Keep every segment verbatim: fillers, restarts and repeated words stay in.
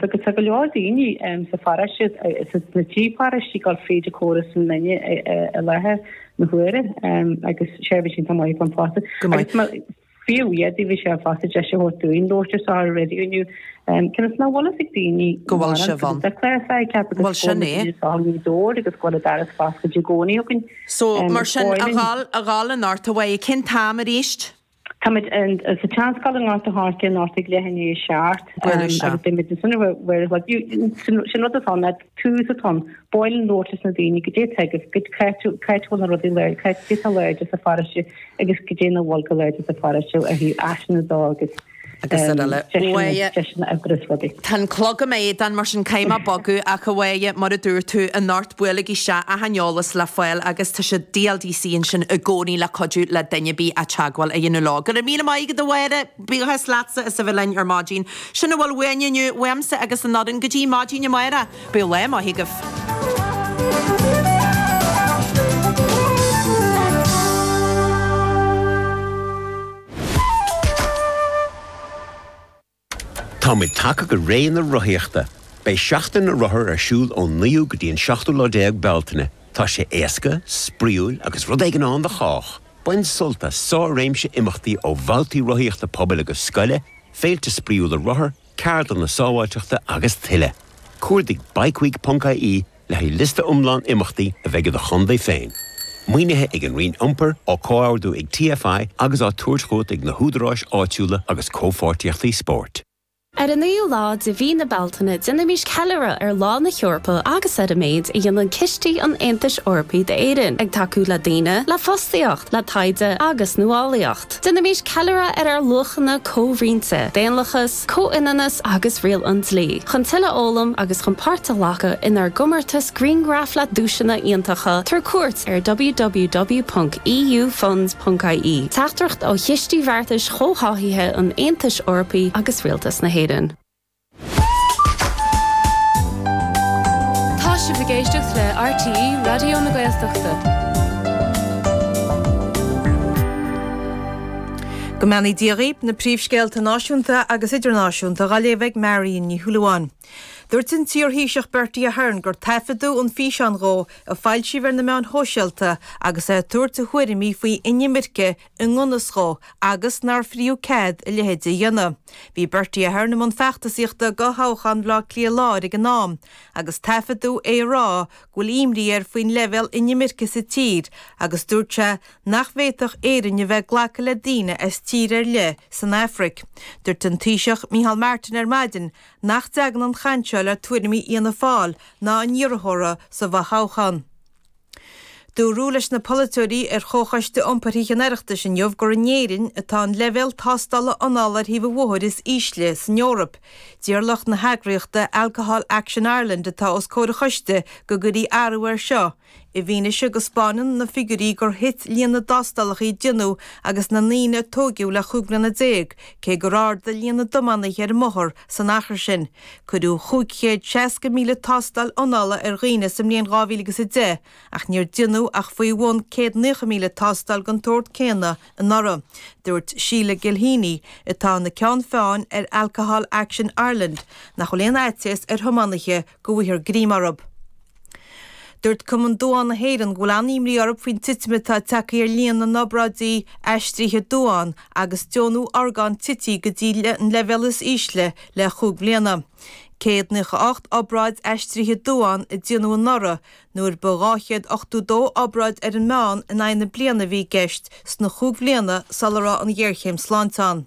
Agus tá go leor daoine sa pharóiste, sna trí pharóiste ag dul fríd an córas an linne i láthair na huaire agus seirbhís iontach maith ann fosta. Agus fiú iad bhí sé fosta deis a thabhairt dúinn labhairt ar ar an raidió inniu cionn is nach bhfuil fhios ag daoine go bhfuil sibh ann. Bhuel sin é. Agus go bhfuil an doras foscailte i gcónaí againn. So mar sin a ghabháil a ghabháil anocht a Mháire, cén t-am arís? Táimid sa tSeanscoil i nGort an Choirce anocht ag leath i ndiaidh a seacht agus beimid ansin ar sin rud atá ann, tús atá ann, ba mhaith linn labhairt leis na daoine goidé atá agaibh, cá háit a bhfuil na rudaí láidre, cá háit atá láidir sa pharóiste agus goidé nach bhfuil go láidir sa pharóiste ó thaobh áiseanna dó agus agus ar eile. deiseanna oibre is rudaí. Tá an clog i m'éadan mar sin caithfidh mé bogadh ach a Mháire, mar a dúirt tú, anocht buailigí isteach achan eolas le fáil agus tá siad DLDC ansin i gcónaí le cuidiú le duine ar bith a teagmháil a dhéanamh leo. Go raibh míle maith agat a Mháire, buíochas leatsa as a bheith linn ar maidin. Sin a bhfuil uainn inniu, uaimse agus an fhoireann go dtí maidin amárach. Bíodh lá maith agaibh. Táimid tagtha go ré na rothaíochta. Beidh Seachtain na Rothar ar siúl ón naoú go dtí an seachtú lá déag Bealtaine. Tá sé éasca, spraíúil agus rud éigin ann do chách. Bain sult as sár-réimse imeachtaí ó bhabhtaí rothaíochta pobail agus scoile, féilte spraíúla rothar, ceardlanna sábháilteachta agus tuilleadh. Cuardaigh bikeweek ponc ie le haghaidh liosta iomlán imeachtaí a bheidh i do chontae féin. Maoinithe ag an Roinn Iompair, á comhordú ag TFI agus á tabhairt chugat ag na húdaráis áitiúla agus comhpháirtíochtaí spóirt. Ar an naoú lá de mhí na Bealtaine, déanaimis ceiliúradh ar Lá na hEorpa agus ar an méid a dhéanann cistí an Aontais Eorpaigh d'Éirinn, ag tacú le daoine, le fostaíocht, le taighde agus nuálaíocht. Déanaimis ceiliúradh ar ár luachanna comhroinnte, daonlathas, comhionannas agus riail an dlí. Chun tuilleadh a fhoghlaim agus chun páirt a ghlacadh inár gcomórtas grianghraf le duaiseanna iontacha, tabhair cuairt ar www ponc eufunds ponc ie. Teachtaireacht ó Chistí Bheartais Chomhtháthaithe an Aontais Eorpaigh agus Rialtas na hÉireann. Tá sibh ag éisteacht le RTÉ Raidió na Gaeltachta. Go mbeannaí Dia dhaoibh, na príomhscéalta náisiúnta agus idirnáisiúnta dhá léamh ag Marion Ní Shúilleabháin. Dúirt an t-iarThaoiseach Bertie Ahern gur taifeadadh an físeán dhó a foilsíodh ar na meáin shóisialta agus é ag tabhairt a thuairimí faoi inimirce i ngan fhios dhó agus nár fiú cead a leithéid a dhéanamh. Bhí Bertie Ahern i mbun feachtasaíochta do thoghchán Bhaile Átha Cliath Láir ag an am agus taifeadadh é ag rá go bhfuil imní air faoin leibhéal inimirce sa tír agus dúirt sé nach bhféadfadh Éirinn a bheith ag glacadh le daoine as tír ar leith san Afraic. Dúirt an Taoiseach Micheál Martin ar maidin nach dtagann an chaint seo le tuairimí Fhianna Fáil ná a n-iarrthóra sa bhfothoghchán. Dúradh leis na polaiteoirí ar Chomhchoiste Iompair Thithe an Oireachtais inniu gur in Éirinn atá an leibhéal tástála anála ar thaobh an bhóthair is ísle san Eoraip. D'iarr lucht na heagraíochta Alcohol Action Ireland atá os comhair an choiste go gcuirfí athrú air seo, i bhfianaise go 'spáineann na figiúirí gur thit líon na dtástálacha a déanadh agus na ndaoine a tóigeadh le chúig bliana déag, cé gur ardaigh líon na dtiománaithe ar an mbóthar san achar sin. Cuireadh chúig chéad seasca míle tástáil anála ar dhaoine sa mbliain dhá mhíle agus a deich, ach níor déanadh ach faoi bhun céad naocha míle tástáil den tsórt céanna anuraidh. Dúirt Sheila Gilheany, atá ina ceann feadhain ar Alcohol Action Ireland, nach bhfuil aon fhaitíos ar thiománaithe go bhfaighfear greim orthu. Dúirt Cumann Duán na hÉireann go bhfuil an-imní orthu faoin titim atá tagtha ar líon na n-obráidí aistrithe duán agus deonú orgán tite go dtí an leibhéal is ísle le chúig bliana. céad naocha a hocht obráid aistrithe duán a déanadh anuraidh, nuair ba dhá chéad ochtó dó obráid ar an meán in aghaidh na bliana a bhí i gceist sna chúig bhliana sula raibh an ghéarchéim sláinte ann.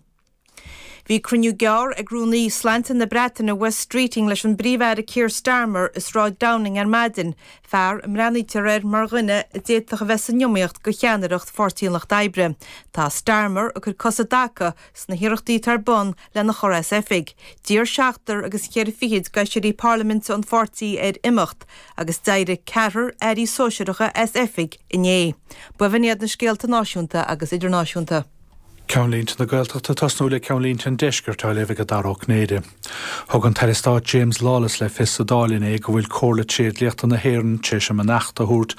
Bhí cruinniú gearr ag Rúnaí Sláinte na Breataine Wes Streeting leis an bPríomh-Aire Keir Starmer i Sráid Downing ar maidin, fear a mbreathnaítear air mar dhuine a d'fhéadfadh a bheith san iomaíocht do cheannaireacht Pháirtí an Lucht Oibre. Tá Starmer ag cur cos i dtaca sna hiarrachtaí atá ar bun lena chur as oifig. D'iarr seachtar agus ceithre fichid d'fheisirí parlaiminte an pháirtí air imeacht agus d'éirigh ceathrar airí sóisearacha as oifig inné. B'in iad na scéalta náisiúnta agus idirnáisiúnta. Ceannlínte na Gaeltachta ag tosnú le Ceannlínte an Deiscirt á léamh ag Dara Ó Cinnéide. Thug an tAire Stáit James Lawless le fios sa Dáil inné go bhfuil Comhairle Tréidliachta na hÉireann tar éis a mbeannacht a thabhairt